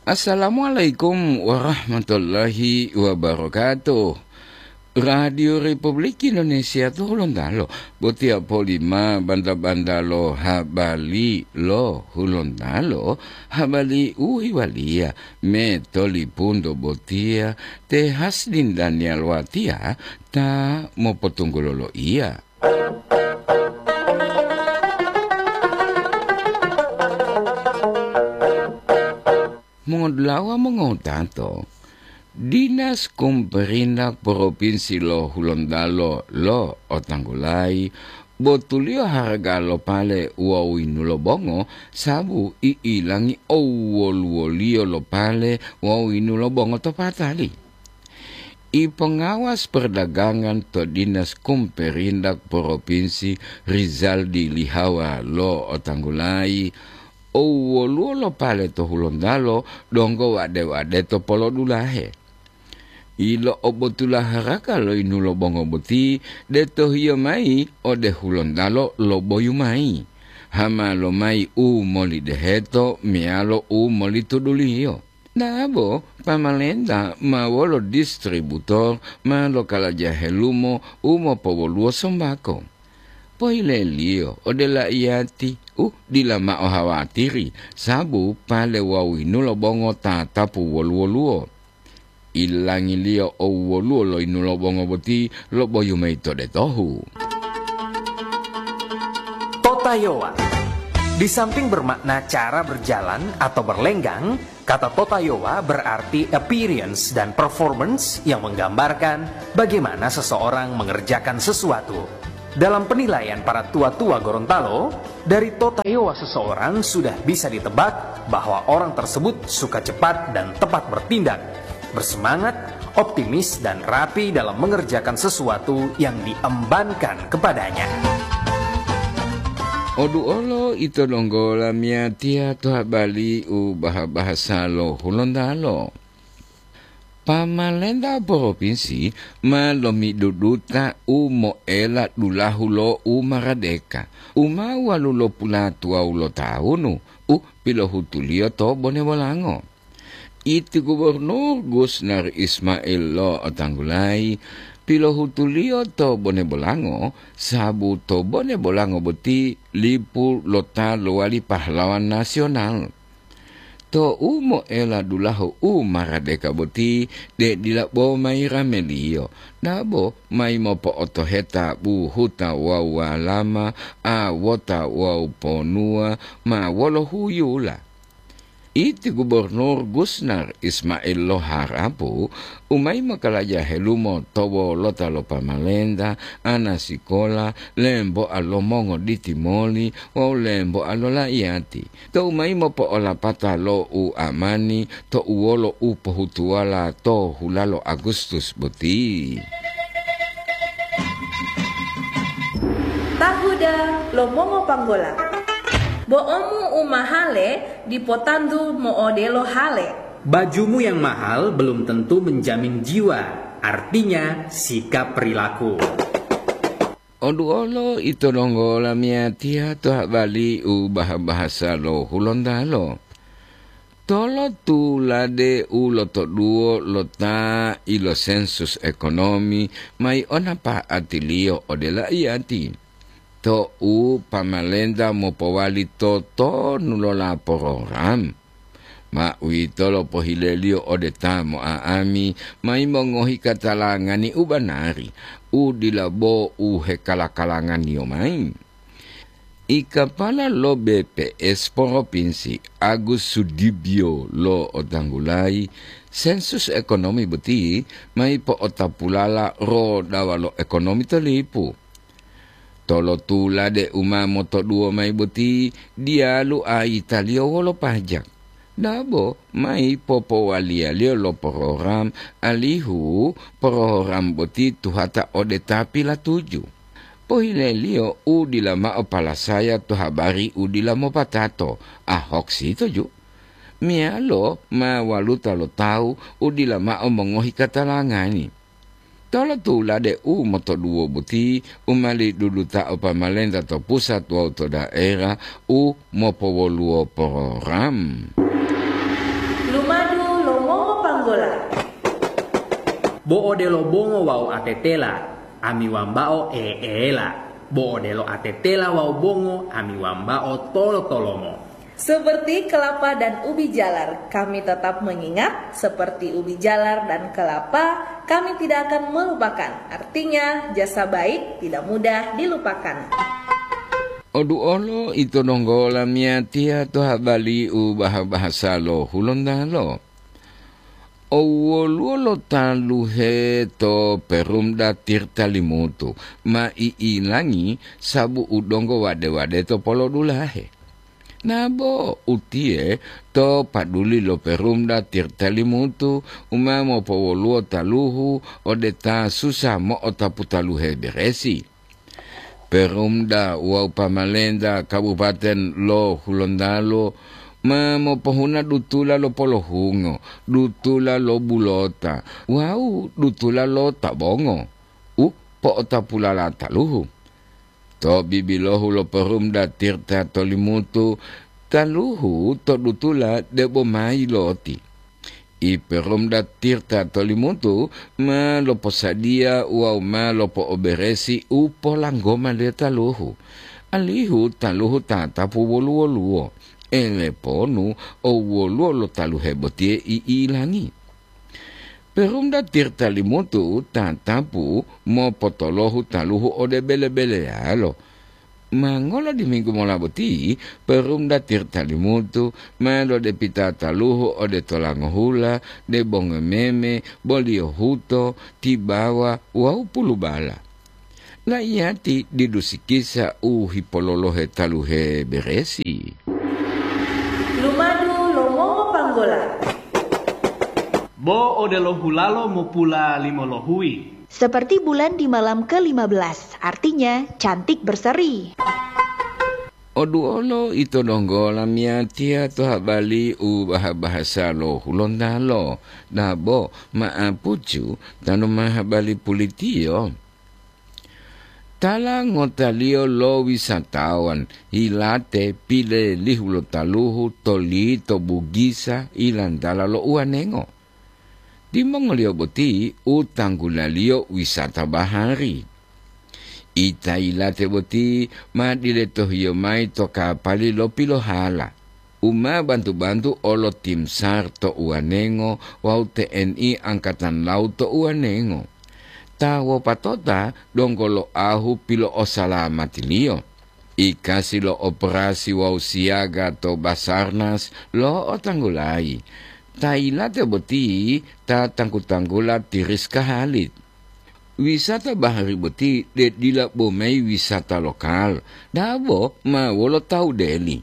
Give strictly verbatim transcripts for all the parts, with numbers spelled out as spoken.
Assalamualaikum warahmatullahi wabarakatuh. Radio Republik Indonesia to Hulontalo, botiya polima banta-banta lo habari lo Hulontalo, habari u hiwaliya me tolipunto botiya te Hasdin Daniel Watiya ta mopotunggulo lo iya. Mongodulawa mongotato, Dinas Kumperindak Propinsi lo Hulontalo lo otanggulayi botuliyo haraga lo pale wawu yinulo bongo sabu i'ilangi owoluwoliyo lo pale wawu yinulo bongo to patali. I pengawas perdagangan to Dinas Kumperindak Propinsi Rizaldi Lihawa lo otanggulayi, owoluwo lo pale to Hulontalo donggo wade-wade to polodulahe. Ilo'obotula haraka lo yinulo bongo boti de tohiyo mayi ode Hulontalo lo boyu mayi, hama lomayi u molideheto meyalo u molituduliyo. Dabo pamalenta ma wolo distributor ma lokalaja helumo u mopowoluwo sombako. Pohileliyo ode laiyati u dila mao hawatiri, sabu pale wawu yinulo bongo tatapu wolu-woluwo. Ilangiliyo owoluwo lo yinulo bongo boti lo boyu mayi to detohu. Totayowa. Di samping bermakna cara berjalan atau berlenggang, kata totayowa berarti appearance dan performance yang menggambarkan bagaimana seseorang mengerjakan sesuatu. Dalam penilaian para tua-tua Gorontalo, dari totayowa seseorang sudah bisa ditebak bahwa orang tersebut suka cepat dan tepat bertindak, bersemangat, optimis, dan rapi dalam mengerjakan sesuatu yang diembankan kepadanya. Odu olo ito donggo lamiyatiya to habari u baha-bahasa lo Hulontalo. Pamalenta propinsi ma lomiduduta u moela dulahu lo u maradeka, u ma walulopulatuwawu lo tawunu u pilohutuliyo to Bone Bolango. Iti Gubernur Gusnar Ismail lo otanggulayi pilohutuliyo to Bone Bolango, sabu to Bone Bolango boti lipu lo ta lowali pahlawan nasional. Tou moela dulahu u maradeka boti, de dila bo mayi rameliyo, dabo mayi mopo'otoheta buhuta wawu walama, awota wawu ponuwa ma wolo huyula. Iti Gubernur Gusnar Ismail lo harapu u mayi mokalaja helumo to wolota lo pamalenta, ana sikola, lemboa lo mongoditi-moli wawu lemboa lo laiyati. Tou mayi mopo'olapata lo u amani to uwolo u pohutuwala to hulalo Agustus boti. Tahuda lo mongopanggola. Bo'omu u mahale dipo tantu mo'odelo hale. Bajumu yang mahal belum tentu menjamin jiwa, artinya sikap perilaku. Oduolo ito donggo lamiyatiya to habari u baha-bahasa lo Hulontalo. Tolo tulade u lotoduwo lo ta ilo sensus ekonomi mayi ona pa'atiliyo ode laiyati. To u pamalenta mopowali totonu lo lapororam. Ma uwitolo pohileliyo ode ta mo'a'ami mayi mongohi katalangani u banari, u dila bo u hekala-kalanganiyo mayi. I kapala lo B P S Poropinsi Agus Sudibyo lo otanggulayi, sensus ekonomi boti mayi po'otapulala rodawa lo ekonomi to lipu. Tolotulade u ma motoduwo mayi boti diyalu ayitaliyo wolo pajak. Dabo mayi popowaliyaliyo lo porogram alihu porogram boti tuhata ode ta pilatuju. Pohileliyo u dila mao palasaya to habari u dila mopatato, ahok sitoju. Meyalo ma waluta lo tawu u dila mao mongohi katalangani. Tolotulade u motoduwo boti u ma ledudutao pamalenta to pusat wawu to daerah u mopowoluwo porogram. Lumadu lo mongopanggola. Bo odelo bongo wawu atetela, ami wambao eela. Bo odelo atetela wawu bongo, ami wambao tolo-tolomo. Seperti kelapa dan ubi jalar, kami tetap mengingat, seperti ubi jalar dan kelapa, kami tidak akan melupakan. Artinya, jasa baik tidak mudah dilupakan. Oduolo ito donggo lamiyatiya to habali u baha-bahasa lo Hulontalo. Owoluwo lo taluhe to Perumda Tirta Limutu ma i'ilangi sabu u donggo wade-wade to polodulahe. Nabo utiye to paduli lo Perumda Tirta Limutu u ma mopowoluwo taluhu ode ta susa mo'otapu taluhe beresi. Perumda wawu pamalenta Kabupaten lo Hulontalo ma mopohuna dutula lo polohungo, dutula lo bulota, wawu dutula lo tabongo u po'otapulala taluhu. To bibilohu lo Perumda Tirta Tolimutu, taluhu to dutula debo mayi loti. I Perumda Tirta Tolimutu ma loposadiya wawu ma lopo'oberesi u polanggoma le taluhu, alihu taluhu tatapu wolu-woluwo, eleponu o woluwo lo taluhe botiye i'ilangi. Perumda Tirta Limutu tatapu mopotolohu taluhu ode bele-beleyalo. Ma ngola diminggu mola boti, Perumda Tirta Limutu ma lodepita taluhu ode tolangohula, debongo meme, boliyo huto, tibawa wawu pulubala. Laiyati didu sikisa u hipololohe taluhe beresi. Lumadu lo mongopanggola. Bo odelo hulalo mopula limolohuyi. Seperti bulan di malam ke lima belas, artinya cantik berseri. Oduolo ito donggo lamiyatiya to habali u baha-bahasa lo Hulontalo, dabo ma'apucu tanu ma habali pulitiyo. Tala ngotaliyo lo wisatawan yilate pilelihu lo taluhu to lito Bugisa ilantala lo uwanengo. Timongoliyo boti u tanggulaliyo wisata bahari. Ita yilate boti ma diletohiyo mayi to kapali lo pilohala, u ma bantu-bantu olo tim sar to uwanengo wawu T N I Angkatan Laut to uwanengo. Ta wopatota donggo loahu pilo'osalamatiliyo. Ikasi lo operasi wawu siyaga to Basarnas lo'otanggulayi. Ta yilate boti ta tanggu-tanggula ti Rizka Halid. Wisata bahari boti de dila bo mayi wisata lokal, dabo ma wolo tawu deli.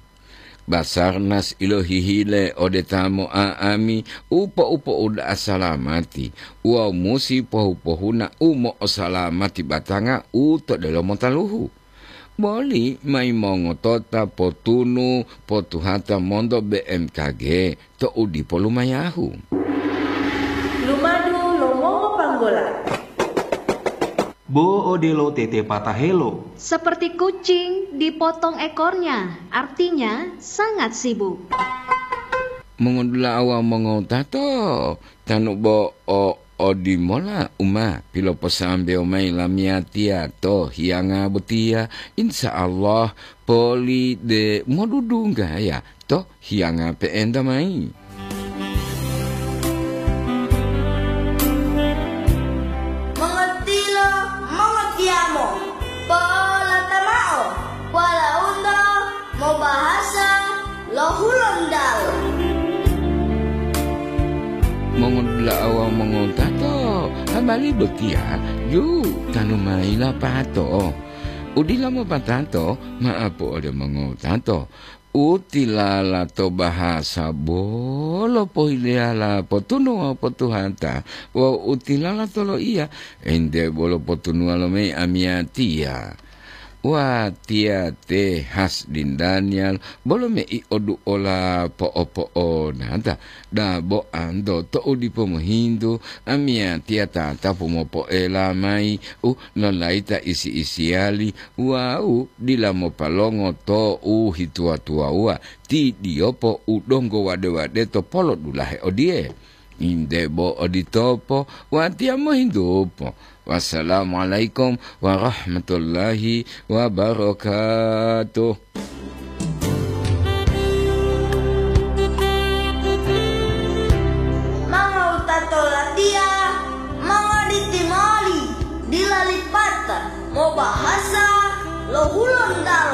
Basarnas ilohihile ode ta mo'a'ami u po'u-po'uda'a salamati wawu musi pohu-pohuna u mo'osalamati batanga u to delomo taluhu. Boli mayi mongotota potunu potuhata monto B M K G to u dipo lumayahu. Lumadu lo mongopanggola. Bo odelo tete patahelo. Seperti kucing dipotong ekornya, artinya sangat sibuk. Mongodula'a wawu mongotato, tanu bo o odimola u ma piloposambewo mayi lamiyatiya to hiyanga botiya, insya Allah poli de modudunggaya to hiyanga pe'enta mayi. Mongotilo, mongotiyamo, polata mao, walaundo mobahasa lo Hulontalo. Mongodula'a wawu mongotato, habari botiya ju tanu mayi lapato. Udila mopatato, ma'apu ode mongotato. U tilala to bahasa bolo pohileyala potunu wawu potuhata, wawu u tilala to loiya, ente bolo potunuwa lomayi amiyatiya. Watiya te Hasdin Daniel, bolo mei oduola po'opo'onata, dabo'anto to'u dipo mohintu, amiyatiya tatapu mopo'ela mayi u lolayita isi-isiyali wawu dila mopalongo to'u hituwa-tuwawuwa, tidiyopo u donggo wade-wade to polodulahe odiye. Inde bo oditopo, watiya mohintupo. Wassalamualaikum warahmatullahi wabarakatuh. Mangawutato latiya, mangaditi moli, dila lipata, mobahasa lo Hulontalo.